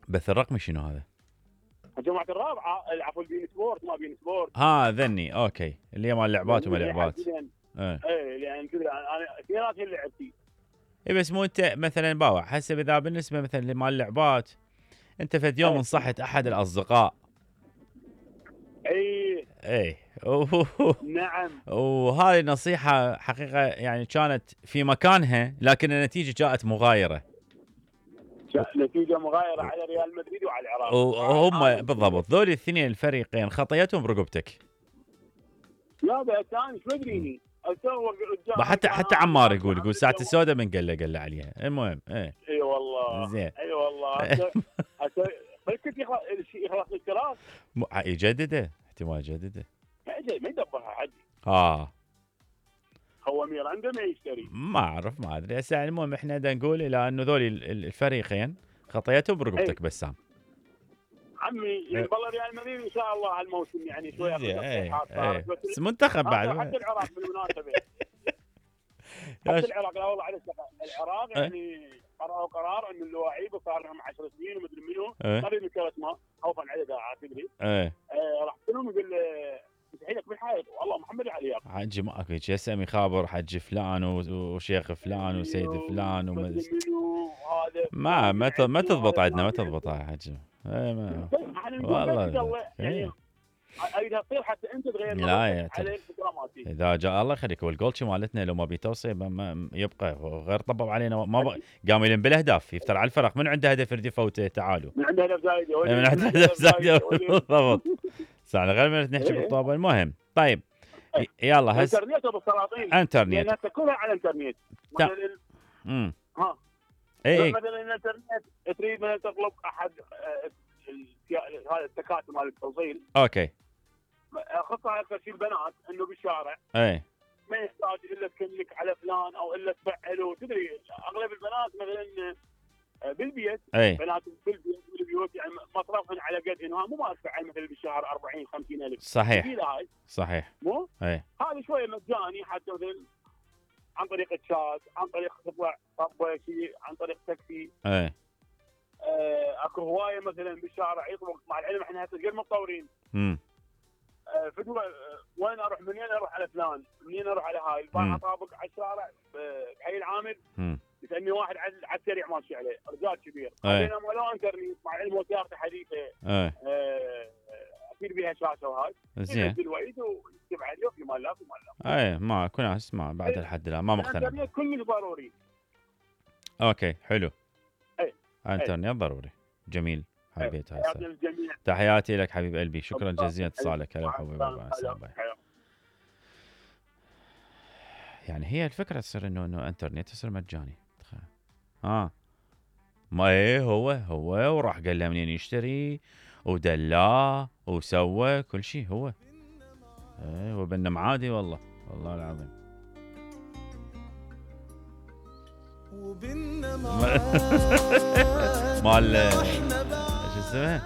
بث الرقمي شنو هذا؟ الجماعه الرابعه عفوا البين سبورت ما بين سبورت. ذني اوكي اللي هي مال لعبات وما لعبات. ايه لان كذا انا اثنينات اللي لعبتي. اي بس مو انت مثلا باوع حسب اذا بالنسبه مثلا لمال اللعبات انت فد يوم انصحت احد الاصدقاء. اي نعم. وهذه نصيحه حقيقه يعني كانت في مكانها لكن النتيجه جاءت مغايره. نتيجه مغايره على ريال مدريد وعلى العراق. وهم بالضبط ذول الاثنين الفريقين خطيتهم برقبتك. لا بس انا ايش مدريني حتى عمار يقول ساعه السوداء من قال له عليها. المهم اي والله زين اي والله بس كنت يخلص الاشتراك يجدده احتمال يجدده ما يدبرها حد. هو ميراندا ما يشتري ما اعرف ما ادري هسه. المهم احنا دا نقول الى انه ذول الفريقين خطيتهم برقبتك بسام عمي. يعني والله ريال مدريد ان شاء الله هالموسم يعني شويه بس منتخب بعد حتى العراق بالمناسبه حتى العراق لا والله على العراق يعني قرروا قرار ان اللواعيب صار لهم 10 سنين ومدري منو قريب من كاس ما خوفا على داعي تدري راح لهم يقول مستحيلك بالحائط والله محمد علي حجي ما اكو شيء هسه خابر حجي فلان وشيخ فلان وسيد فلان ما تضبط عندنا ما تضبط يا حجي. والله يعني اذا تصير حتى انت تغير لا اذا جاء الله يخليك. والجولتشي مالتنا لو ما بيتوصي يبقى غير طبب علينا ما قام يلم بالاهداف يفتر على الفرق من عنده هدف يريد يفوته تعالوا من عنده هدف زايده من عنده هدف زايده بالضبط. ساعه غير من نحكي بالطابه. المهم طيب يلا هسه انترنت بالسلاطين انترنت لان كلها على الانترنت مثلا الانترنت تريد مثلا تطلب احد هذا التكاتك مال التوصيل اوكي خطها اكثر شيء البنات انه بالشارع ما يحتاج الا تكلك على فلان او الا تفعله. تدري اغلب البنات مثلا بالبيت بنات بالبيوت يعني مصرفهن على قدهن مو ما ادفع مثلا بالشهر 40 50 الف صحيح مو هذا شويه مجاني حتى مثلا عن طريق الشات عن طريق تطلع طبه شيء عن طريق تاكسي. اكو هوايه مثلا بالشارع يطلق مع العلم احنا هسه غير متطورين. فدوه وين اروح منين اروح على فلان منين اروح على هاي البارحه اطابق على الشارع بحي العامل يسالني واحد على السريع ماشي عليه رجال كبير انا ولا انترنت مع العلم وسيارته حديثه اكيد بيها شاشه وهاي زين الوعيد ويكتب عليه في مال لا في مال لا ما اكو ناس ما بعد الحد الان ما مقتنع. الانترنت كله ضروري. اوكي حلو. انترنت ضروري جميل. حبيت هسه تحياتي لك حبيب قلبي. شكرا جزيلا اتصالك. هلا حبيبي يعني هي الفكره تصير انه انترنت تصير مجاني. ما هو وراح قال له منين يشتري ودلاه وسوى كل شيء هو وبنم عادي والله العظيم. مال شو اسمه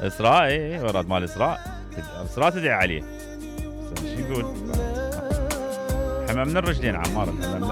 اسراء وراد مال اسراء تدعي عليه شو يقول حمى من الرجلين عمار حمى من